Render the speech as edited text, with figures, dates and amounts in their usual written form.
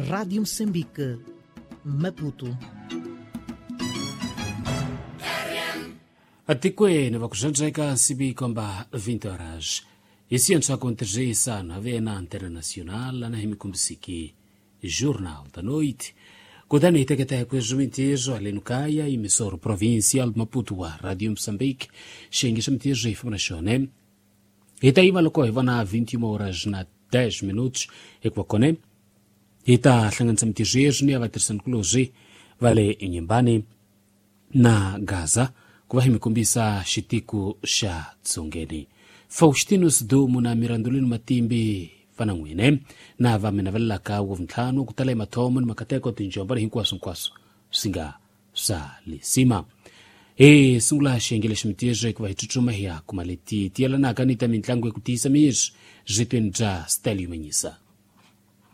Rádio Moçambique, Maputo. Atikweni vakuxandzeka sivi komba 20 horas isiyantswa kontrisa na vena internacional na himikumbisiki Jornal da Noite. Kutani hi teketa hi kwezwi aleno kaya emissora provincial Maputo wa Radio Moçambique xiyenge xa mintirho hi famba na xona hi ta yiva loko hi vona 21 horas na 10 minutos hikuva kone hi ta hlanganisa mintirho yeswi ni ya vatirhisanikulorhi va le Inhambane na Gaza ku va hi mi kombisa xitiko xa dzongeni. Faustino Sidumo na Mirandolino Matimbi va na n'wine na va mi navelelaka wa vuntlhanu ku tala hi mathomo ni makateko tinjombo ni hinkwaswo hinkwaswo swi nga swa lisima. Hi sungula xiyenge lexi mintirho hikuva hi tsutsuma hi ya kuma leti ti yelanaka ni ta mitlangu ya ku tiyisa miri byi bya Stelio Manyisa.